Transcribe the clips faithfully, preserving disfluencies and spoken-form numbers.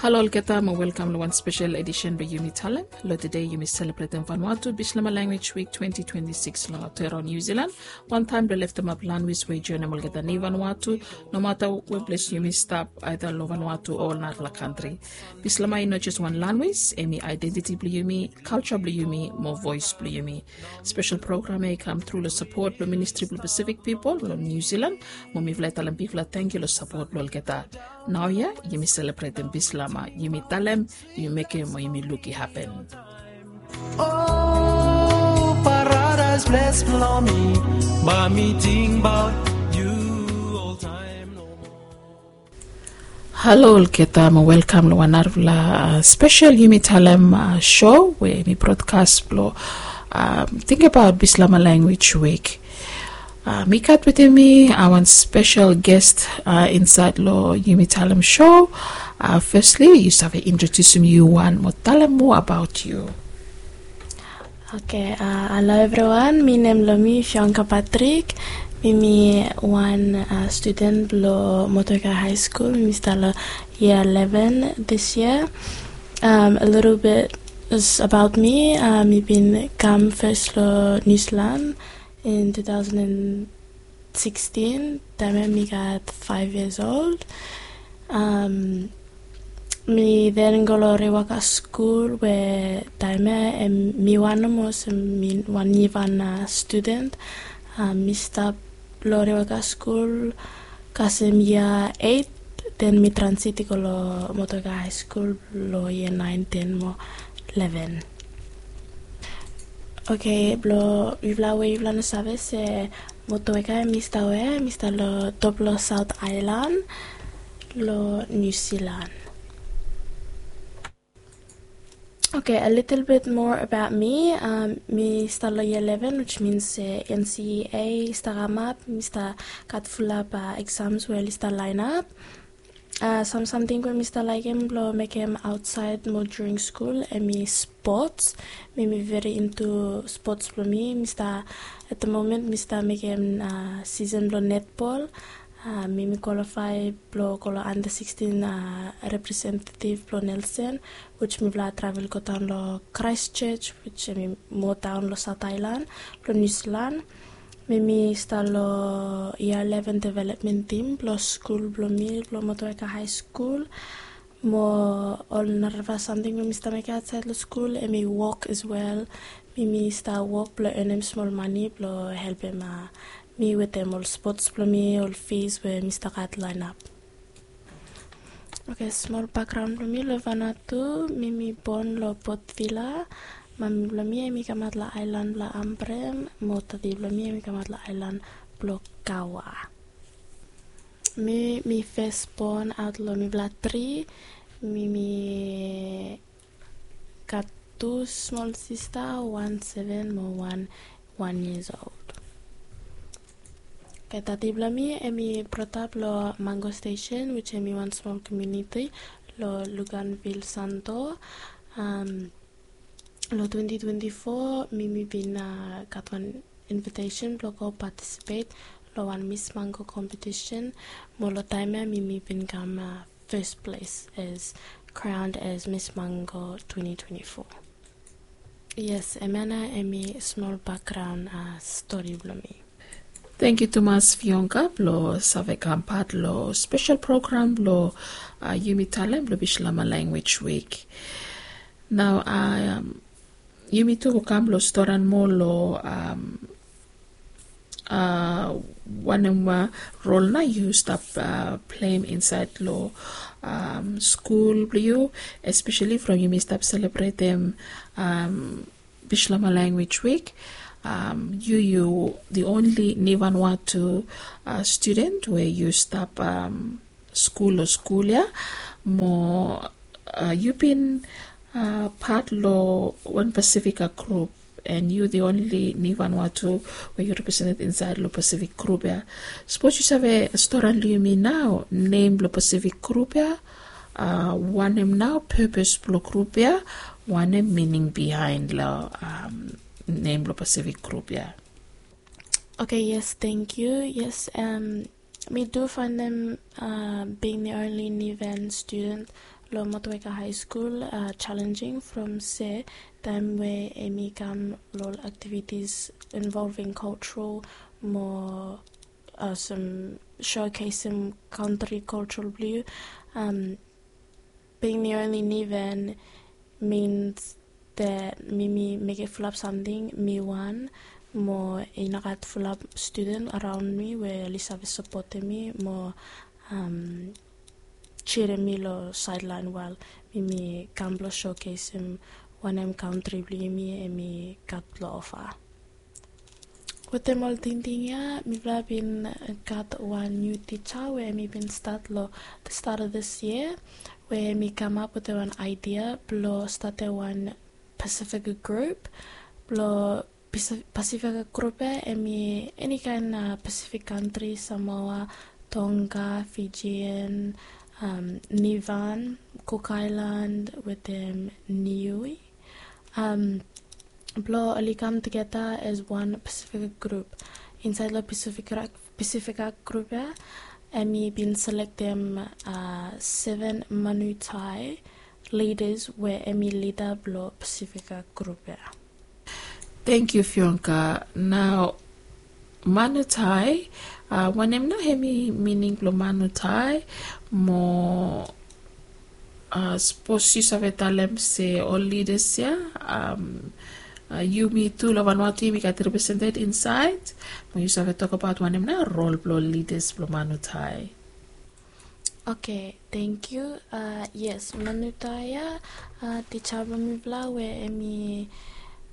Halo olgeta, mo welkam long wan spesel edisen blong Yumi Talem. Long tede yumi selebretem Vanuatu Bislama Language Week twenty twenty-six long Aotearoa Niu Zilan, wantaem blong leftemap lanwis we i joenem olgeta ni Vanuatu, nomata we ples yumi stap, aeda long Vanuatu o narafala kantri. Bislama i no jes wan lanwis, hemi aedentiti blong yumi, kalja blong yumi, mo voes blong yumi. Spesel program ya i kamtru long sapot blong Ministri blong Pasifik Pipol long Niu Zilan, mo mifala i talem bigfala tangkiu long sapot blong olgeta. Naoia yumi selebretem Bislama, yumi talem, yumi mekem, mo yumi luk i hapen. O paradaes ples blong mi, bae mi tingbaot yu oltaem nomo. Halo olgeta, mo welkam long wan narafala, a, spesel Yumi Talem, a, show we mi brodkas blong, a, tingbaot Bislama Language Week. A, mi gat wetem mi, a, wan spesel ges, a, insaed long Yumi Talem show. A, fesli yu save introdiusim yu wan mo talem moa abaot yu. Oke, a, halo evriwan, mi nem blong mi Fionka Patrick. Mi mi wan, a, studen blong Motueka High School. Mi stap long yia eleven this year. Um, a little bit is about me. A, mi bin kam fes long Niu Zilan in two thousand and sixteen, taem ya mi gat five years old. Um, mi then go long Rewaka Skul we taem ya, em, mi wan nomo olsem mi wan nivan, a, studen. A, mi stap long Rewaka Skul kasem yia eight, then mi transit i go long Motueka High School long yia nine, ten mo eleven. Oke, blong yufala we yufala no save se Motueka hemi stap wea, hemi stap long top blong South Island long Niu Zilan. Oke, a little bit more about me. Um, mi stap long yia eleven, which means se N C E A i stap kamap, mi stap gat fulap, a, exams we oli stap laenap. A, sam samting we mi stap laekem blong mekem aotsaed mo during skul hemi spots. Mi mi very into spots blong mi. Mi stap, at the moment mi stap mekem, a, season blong netball. A, mi mi qualify blong go long under sixteen, a, representative blong Nelson, which mifala travel godaon long Christchurch, which hemi moa daon long South Island blong Niu Zilan. Mi mi stap long yia eleven development team blong skul blong mi, blong Motueka High School. Mo ol narafala samting we mi stap mekem aotsaed long skul, hemi wok as well. Mi mi stap wok blong earnem smol mane blong helpem, a, mi wetem ol spots blong mi, ol fees we mi stap gat laenap. Oke, smol bakgraon blong mi long Vanuatu, mi mi bon long Port Vila. Mami blong mi hemi kamaot long aelan blong Ambrym, mo dadi blong mi hemi kamaot long aelan blong Kawa. Mi mi fes bon aot long mifala tri. Mi mi gat tu smol sista, wan seven mo wan wan years old. Oke, dadi blong mi hemi brought up long Mango Station, which hemi wan smol komuniti long Luganville, Santo. Um, long twenty twenty-four mi mi bin, a, gat wan invitation blong go participate long wan Miss Mango competition. Mo long taem ya mi mi bin kam, a, first place as crowned as Miss Mango twenty twenty-four. Yes, hemia nao hemi smol bakgraon, a, stori blong mi. Tangkiu tumas Fionka blong save kam pat long spesel program blong, a, Yumi Talem blong Bislama Language Week. Nao, a, um, yumi tu go kam long stori moa long, um, a, wanem, a, rol nao yu stap, a, pleim insaed long, um, skul blong yu, espeseli from yumi stap selebretem, um, Bislama Language Week. Um, yu yu the only ni Vanuatu, a, studen we yu stap, um, skul long skul ya. Mo, a, yu bin, a, pat long wan Pasifika grup, and yu the only ni Vanuatu we yu represented insaed long Pasifik grup ya. Sapos yu save stori long yumi nao nem blong Pasifik grup ya, a, wanem nao purpose blong grup ya, wanem meaning behind long, um, nem blong Pasifik grup ya. Oke, yes, tangkiu. Yes, um, mi tu faenem, a, being the only Nivan student Lo Motueka High School, uh, challenging from se taem we emi kam lo activities involving cultural mo uh, some showcasing country cultural blue. Um, being the only Niven means that mi mi mekem fulap samting mi wan mo i no gat fulap student around mi we oli save sapotem mi mo um, cheerem mi lo sideline while mi mi kam blo showcasem wanem country blong yumi emi gat lo offer. Wetem ol tingting ya mifala bin gat wan niu tija we emi bin stat lo the start of this year, we emi kamap wetem wan idea blo statem wan Pacific group blo Pacific group ya emi eni kaen Pacific country, Samoa, Tonga, Fijian, um, Nivan, Cook Island wetem Niue. Um, blo oli kam tugeta as wan Pacific group. Insaed lo Pacific, Pacific group ya emi bin selektem uh, seven Manutai leaders we emi lida blo Pacific group ya. Thank you, Fianca. Now, Manutai, uh, wanem nao hemi meaning blo Manutai mo uh, sapos yu save talem se ol leaders ya, um, uh, yumi tu lo Vanuatu yumi gat represented insaed, mo yu save tokbaot wanem nao rol blo leaders blo Manutai. Okay, thank you. Uh, yes, Manutai ya, uh, tija blo mifala we emi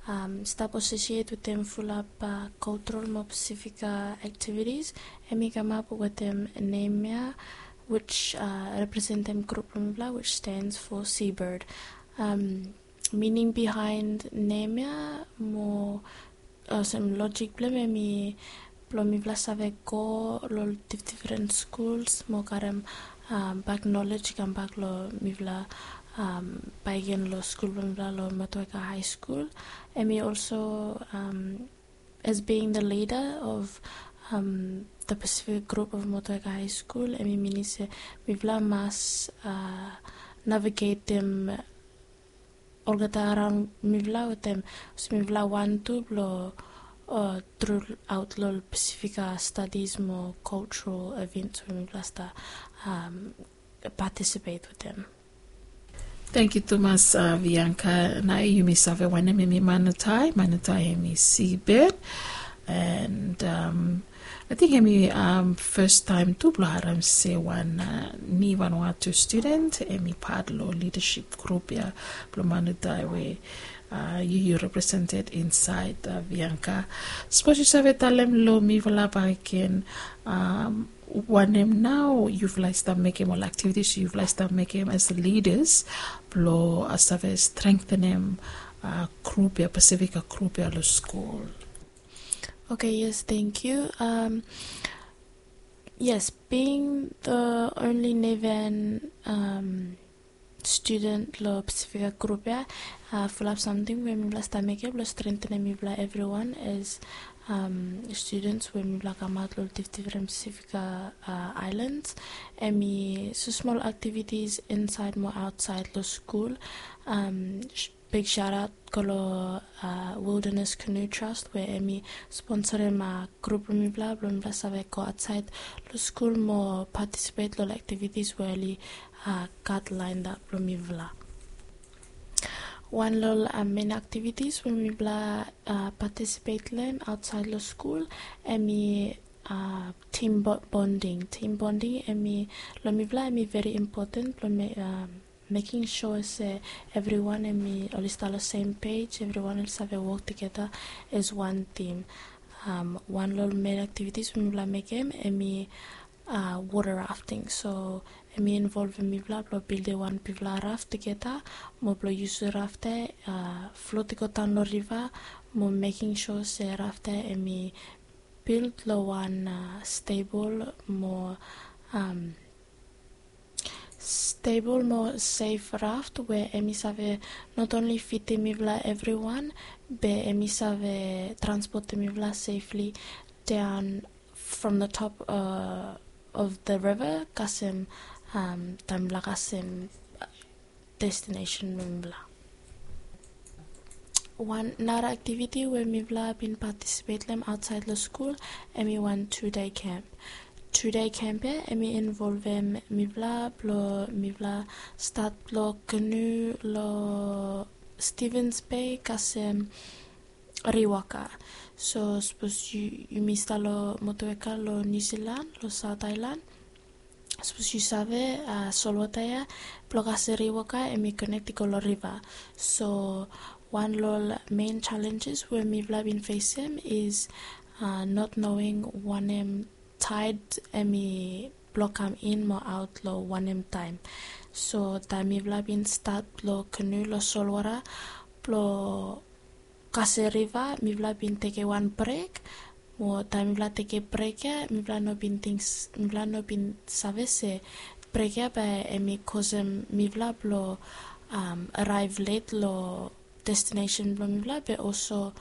um, stap associate wetem fulap uh, cultural mo Pacific uh, activities. Emi kamap wetem nem ya, which uh, representem group blo mifala, which stands for Seabird. Um, meaning behind nem ya mo uh, olsem logic blo hem emi blo mifala save go lo difdifren schools mo karem um, bak knowledge kambak lo mifala um, bakegen lo skul blo mifala lo Motueka High School. Emi also um, as being the leader of um, the Pacific group of Motueka High School, emi minim se mifala mas uh, navigatem olgeta araon mifala wetem olsem mifala wan tu blo uh, throughout lo Pacific studies mo cultural events we mifala stap um, participate wetem. Thank you tumas uh, Bianca. Nao yumi save wanem emi Manutai. Manutai emi seabird. And um, I think emi um, first time tu blo harem se wan uh, ni Vanuatu student emi pat lo leadership group ya blo Manutai we uh, yu yu represented insaed uh, Bianca. Sapos yu save talem lo mifala bakegen um, wanem nao yufala i stap mekem ol activities yufala i stap mekem as leaders blo uh, save strengthenem uh, group ya, Pacific group ya lo skul. Okay, yes, thank you. Um, yes, being the only Niven um, student lo Pacific group ya, uh, fulap samting we mifala stap mekem blo strengthenem mifala everyone as um, students we mifala kamaot lo difdifren Pacific uh, islands. Emi so small activities insaed mo aotsaed lo skul. Um, big shout out go lo uh, Wilderness Canoe Trust we emi sponsorem uh, group blo mifala blo mifala save go aotsaed lo skul mo participate lo activities we oli uh, gat lined up blo mifala. Wan lo ol uh, main activities we mifala uh, participate lo hem aotsaed lo skul emi uh, team bonding. Team bonding emi lo mifala emi very important blo me, um, making sure se everyone emi oli stap lo same page, everyone oli save wok tugeta as wan team. Um, wan lo ol main activities we mifala mekem emi uh, water rafting. So emi involvem mifala blo bildim wan bigfala raft tugeta mo blo yusum raft ya uh, flot i go daon lo riva mo making sure se raft ya emi build lo wan uh, stable mo um, stable mo safe raft we emi save not only fidim mifala everyone be emi save transportim mifala safely down from the top uh, of the river kasem um, taem mifala kasem destination blong mifala. Wan nara aktiviti we mifala bin patisipet long hem aotsaed long skul, hemi wan two day camp. Two day camp ya hemi involvem mifala blong mifala stat long kanu long Stevens Bay kasem Riwaka. So sapos yumi stap long motuweka long Niu Silan long Saot Aelan, sapos yu save, a, solwota ya blong kasem Riwaka hemi konek i go long riva. So wan long ol mein jalenjes we mifala bin fesem is, a, not knowing wanem taed hemi blong kam in mo aot long wanem taem. So taem mifala bin stat long kanu long solwota blong kasem riva, mifala bin tekem wan brek. Mo taem mifala tekem brek ya, mifala no bin ting, mifala no bin save se brek ya bae hemi kosem mifala blong, am, araev let long destinesen blong mifala, be olso,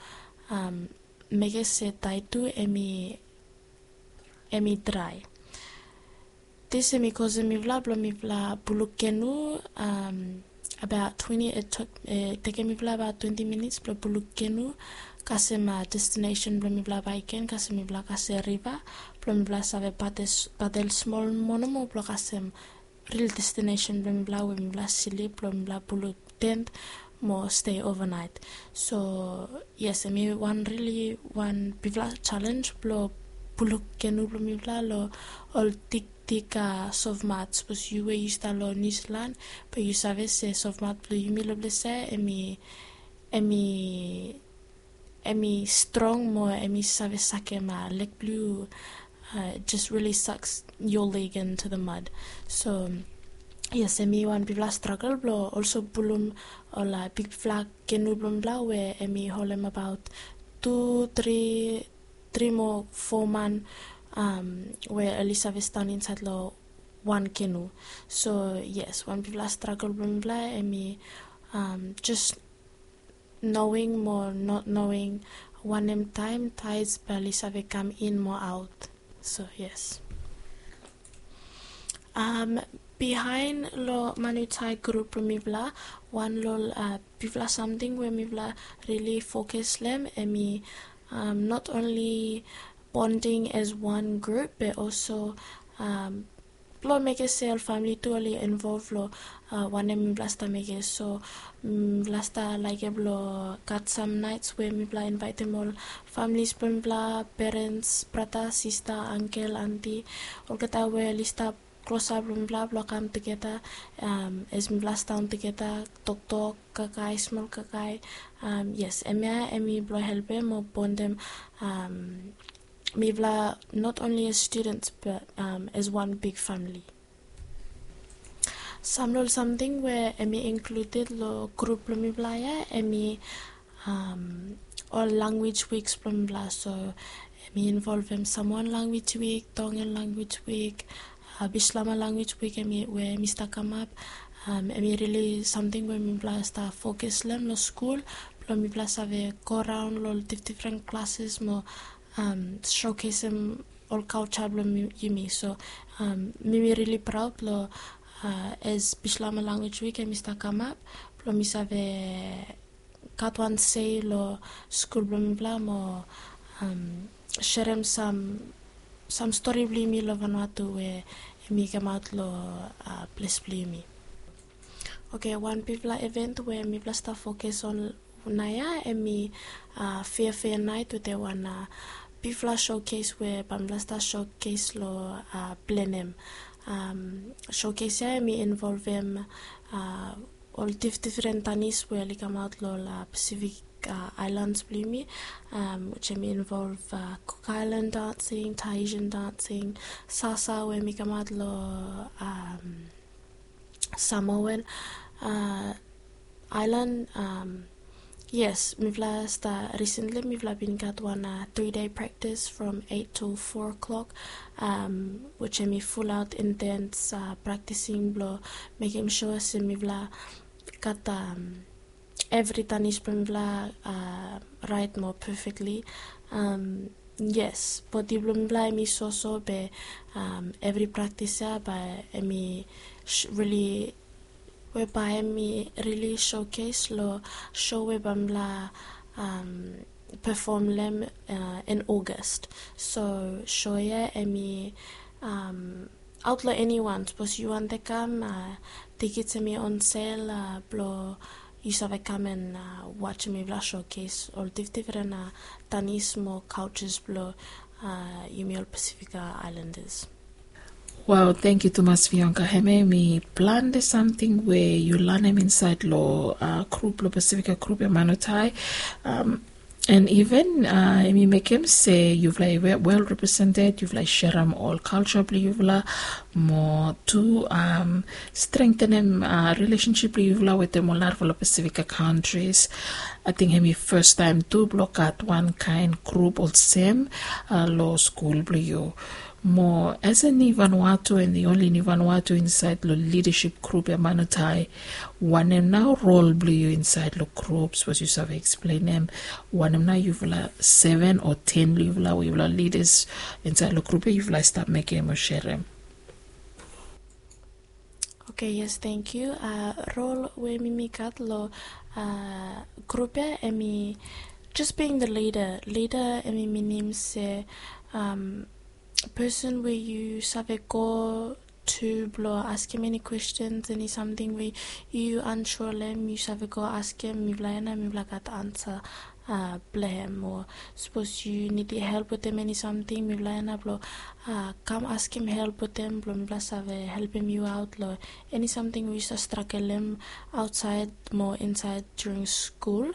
am, mekem se taem tu hemi hemi drae. Dis hemi kosem mifala blong mifala puluk kenu, am, abaot twenti, i tekem mifala abaot twenti minits blong puluk kenu kasem, a, destinesen blong mifala bakegen, kasem mifala kasem riva, blong mifala save padel smol moa nomo blong kasem ril destinesen blong mifala we mifala slip, blong mifala puluk tent mo stay overnight. So yes, hemi wan rili wan bigfala jalenj blong puluk kenu blong mifala long ol dikdik, a, sofmat. Sapos yu we yu stap long Niu Silan, be yu save se sofmat blong yumi long ples ya hemi, hemi hemi strong mo hemi save sakem, a, leg blong yu, a, just really sucks your leg into the mud. So yes, hemi wan bigfala stragel blong olso pulum ol, a, bigfala kenu blong mifala we hemi holem abaot tu, tri, tri mo fo man, am, we oli save stap insaed long wan kenu. So yes, wan bigfala stragel blong mifala hemi, am, just knowing mo not knowing wanem taem taed bae oli save kam in mo aot. So yes. Am, bihaen long Manutai grup blong mifala, wan long ol, a, bigfala samting we mifala rili fokus long hem hemi, am, not only bonding as one group, be olso, am, blong mekem se ol famili tu oli involv long, a, wanem mifala stap mekem. So mifala stap laekem blong gat sam naets we mifala invaetem ol familis blong mifala, perens, brata, sista, angkel, anti, olgeta we oli stap klosap long mifala blong kam tugeta, am, as mifala sidaon tugeta, toktok, kakae, smol kakae. Am, yes, hemia hemi blong helpem mo bondem, am, mifala not only as students but, am, as wan big famili. Sam long ol samting we hemi inkluded long grup blong mifala ya hemi, am, ol language weeks blong mifala. So hemi involvem Samoan language week, Tongan language week, a, Bislama language week hemi we hemi stap kamap. Am, hemi rili samting we mifala stap fokus long hem long skul blong mifala save go raon long ol difdifren klases mo, am, showcasem ol kalja blong yumi. So, am, mi mi rili praod long, a, as Bislama language week hemi stap kamap blong mi save gat wan sei long skul blong mifala mo, am, serem sam, sam stori blong yumi long Vanuatu we hemi kamaot long, a, ples blong yumi. Oke, wan bigfala event we mifala stap fokus on naoia hemi, a, Fiafia Naet wetem wan, a, bigfala showcase we bae mifala stap showcase long, a, Blenheim. Am, showcase ya hemi involvem, a, ol difdifren danis we oli kamaot long ol, a, Pacific, a, aelans blong yumi, am, which hemi involv, a, Cook Island dancing, Tahitian dancing, salsa we hemi kamaot long, am, Samoan, a, aelan. Am, yes, mifala stap, recently mifala bin gat wan, a, three day practice from eight to four o'clock, am, which hemi fulaot intens, a, practicing blong mekem sua se mifala gat, am, evri danis blong mifala, a, raet mo perfectly. Am, yes, bodi blong mifala hemi soso be, am, evri praktis ya bae hemi rili we bae hemi rili showcase lo show we bae mifala pefom lo hem in August. So show ya hemi aot lo eniwan, sapos yu wantem kam, tikits hemi on sel blo yu save kam and wajem mifala showcase ol difdifren tanis mo cultures blo yumi ol Pasifika Islanders. Wow, tangkiu tumas Bianca. Hemia hemi plante samting we yu lanem insaed lo grup, lo Pasifika grup ya Manutai. And even hemi mekem se yufala i wel represented, yufala i serem ol kalja blo yufala mo tu strengtenem rilesensip blo yufala wetem ol narafala Pasifika kantris. Ating hemi fastaem tu blo gat wan kaen grup olsem lo skul blo yu. Mo as a Niu Vanuatu and the only Niu Vanuatu insaed lo lidasip grup ya Manutai, wanem nao rol blo yu insaed lo grup? Sapos yu save eksplenem wanem nao yufala seven o ten blo yufala we yufala lidas insaed lo grup ya yufala i stap mekem o serem. Oke, yes, tangkiu. Rol we mi mi gat lo grup ya hemi just being the leader. Leader hemi minim se pesen we yu save go tu blo askem eni kwestens, eni samting we yu ansua lo hem, yu save go askem mifala ya nao, mifala gat ansa blo hem. O sapos yu nidim help wetem eni samting, mifala ya nao blo kam askem help wetem blo mifala save helpem yu aot lo eni samting we yu stap stragelem aotsaed mo insaed during skul.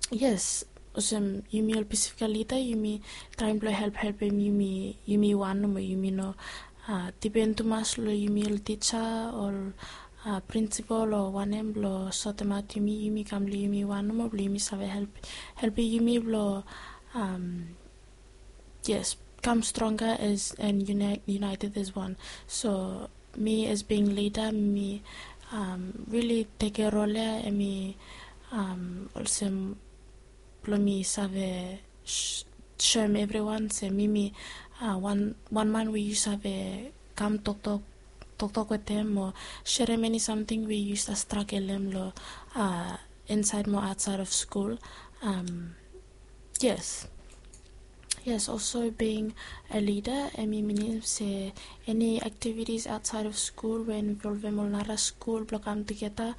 Yes, olsem yumi ol Pasifika lida, yumi traem blo helphelpem yumi, yumi wan nomo, yumi no dipen tumas lo yumi ol tija, ol prinsipol o wanem blo sotemaot yumi. Yumi kam lo yumi wan nomo blo yumi save help, helpem yumi blo yes, kam stronga as and united as one. So mi as being lida, mi rili tekem rol ya, hemi olsem blo mi save soem evriwan se mi mi wan, wan man we yu save kam toktok, toktok wetem o serem eni samting we yu stap stragelem lo insaed mo aotsaed of skul. Yes. Yes, also being a leader hemi minim se eni activities outside of school we involvem ol nara skul blo kam tugeta.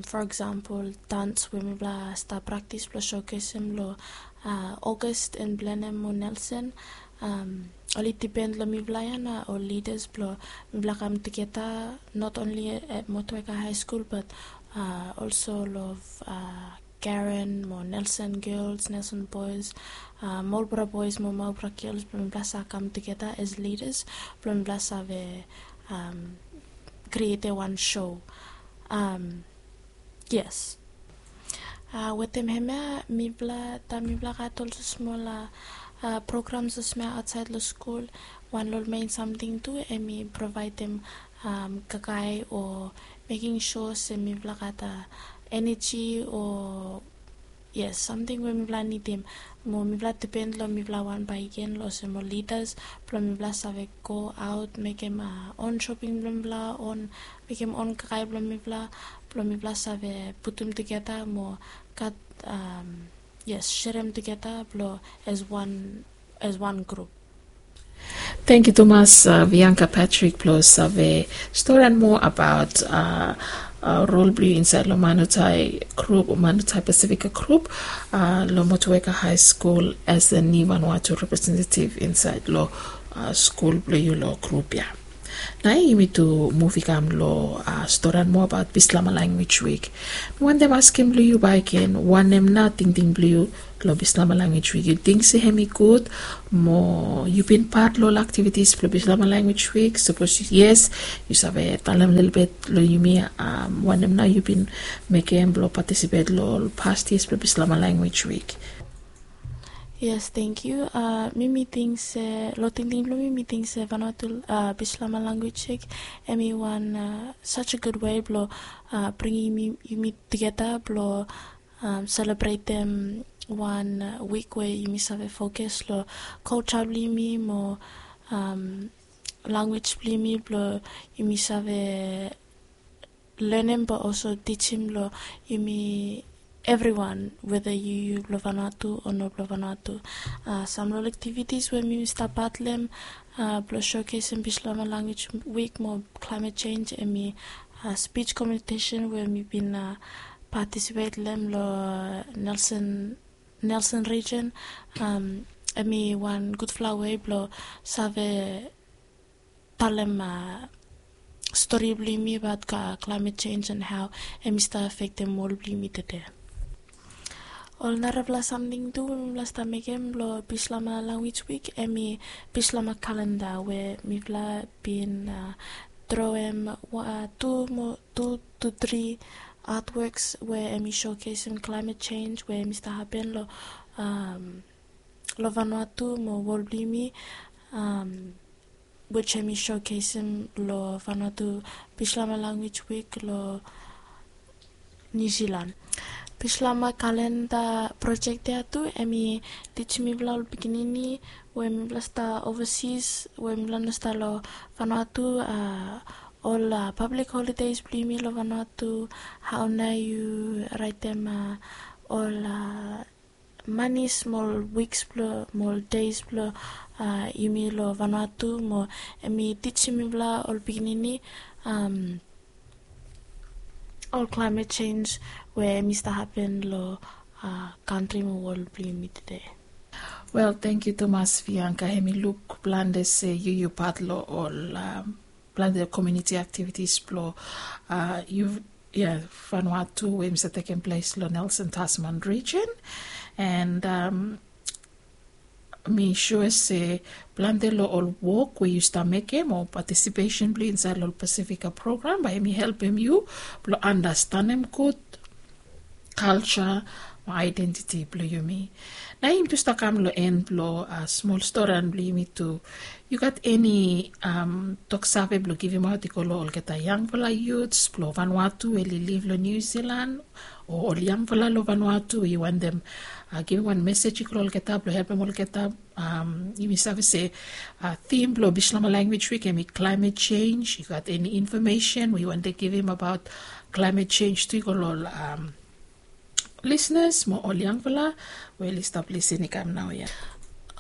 For example, dans we mifala stap praktis blo showcasem lo August in Blenheim mo Nelson. Oli dipen lo mifala ya nao ol leaders blo mifala kam tugeta, not only at Motueka High School but also lo Karen mo Nelson Girls, Nelson Boys, Marlborough Boys mo Marlborough Girls, blo mifala sa kam tugeta as leaders blo mifala save krietem wan show. Yes. Wetem hemia mifala, taem mifala gat olsem smol programs olsem ya aotsaed lo skul, wan lo ol mein samting tu hemi provaedem kakae o mekem sua se mifala gat eneji o, yes, samting we mifala nidim. Mo mifala dipen lo mifala wan bakegen lo olsem ol lidas blo mifala save go aot mekem on shoping blo mifala, on mekem on kakae blo mifala, blo mifala save putum tugeta mo gat, yes, serem tugeta blo as wan, as wan grup. Tangkiu tumas Bianca Patrick blo save storian moa abaot rol blo yu insaed lo Manutai grup, Manutai Pasifika grup lo Motueka High School as a Niu Vanuatu representative insaed lo skul blo yu lo grup ya. Nao yumi tu muv i kam lo storian moa abaot Bislama Language Week. Mi wantem askem lo yu bakegen, wanem nao tingting blo yu lo Bislama Language Week? Yu ting se hemi gud? Mo yu bin pat lo ol activities blo Bislama Language Week? Sapos yes, yu save talem lelebet lo yumi wanem nao yu bin mekem blo patisipet lo ol past years blo Bislama Language Week. Yes, tangkiu. Mi mi ting se, lo tingting blo mi, mi ting se Vanuatu Bislama Language Week hemi wan such a good way blo bringim yumi tugeta blo selebretem wan wik we yumi save fokus lo kalja blo yumi mo language blong yumi blong yumi save learnem but also teachim long yumi everyone, whether yu yu blong Vanuatu o no blong Vanuatu. Uh, some long activities we mi stap part long uh, blong showcasing Bislama Language Week mo climate change, emi uh, speech competition we mi bin uh, participate long uh, Nelson Nelson region. Um, emi wan gudfala way blong save talem uh, stori blong yumi about uh, climate change and how emi stap affectem world blong yumi today. Ol narafala samting tu mipela stap mekem long Bislama Language Week emi Bislama calendar we mipela bin uh, droem uh, tu mo tu to three artworks we emi showcasem climate change we emi stap happen long um, long Vanuatu mo world blong yumi. Um, which emi showcasem long Vanuatu Bislama Language Week long New Zealand. Bislama calendar project ya tu emi teachim mipela ol pikinini we mipela stap overseas we mipela no stap long Vanuatu uh, ol uh, public holidays blong yumi long Vanuatu, how na yu raitem uh, ol uh, mani smol weeks blong mo ol days blong uh, yumi long Vanuatu mo emi teachim mipela ol pikinini um, ol climate change we emi stap happen long uh, country mo world blong yumi today. Well, thank you tumas Bianca, emi luk plante se yu yu part long ol um, plante community activities blong uh, yu yeah, Vanuatu we mi stap taking place long Nelson Tasman region. And um, mi sure se plante long ol wok we yu stap mekem o participation blong yu inside long Pacifica program bae mi helpem yu blong understandem gud culture mo identity blong yumi. Na yumi tu stap kam long en blong uh, smol storan blong yumi tu. Yu gat eni um, toksave blong givimaot i go long olgeta yangfala youths blong Vanuatu we liliv long New Zealand o ol yangfala long Vanuatu we yu wantem uh, givim wan mesej i go long olgeta blong helpem olgeta. Um, yumi save se uh, theme blong Bislama Language Week emi climate change. Yu gat eni information we yu wantem givim about climate change tu i go long um, listeners mo ol yangfala we oli stap lisin i kam naoia.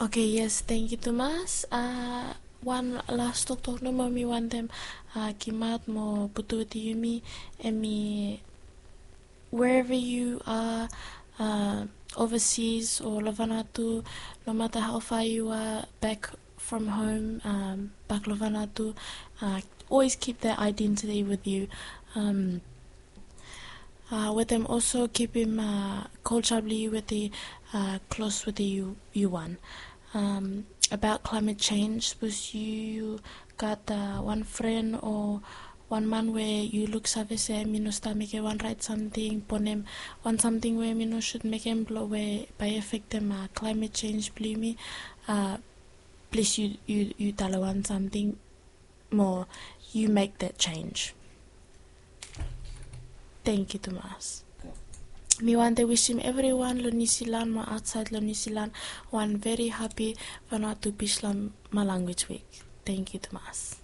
Okay, yes, thank you tumas. Uh, wan las toktok nomo mi wantem uh, gimaot mo putu wetem yumi emi wherever you are, uh, overseas o long Vanuatu, no matter how far you are back from home, um, back long Vanuatu, uh, always keep that identity with you. Um, uh, wetem also kipim uh, culture blong yu wetem uh, close wetem yu yu wan. Um, about climate change, sapos yu gat uh, wan fren o wan man we yu luksave se mi no stap mekem wan rait samting, bonem wan samting we mi no sud mekem blong we bae afektem uh, climate change blong yumi. Uh, plis yu yu yu talem wan samting mo yu mek that change. Thank you tumas. Mi wantem wisim evriwan long New Zealand mo aotsaed long New Zealand wan very happy Vanuatu Bislama Language Week. Thank you tumas.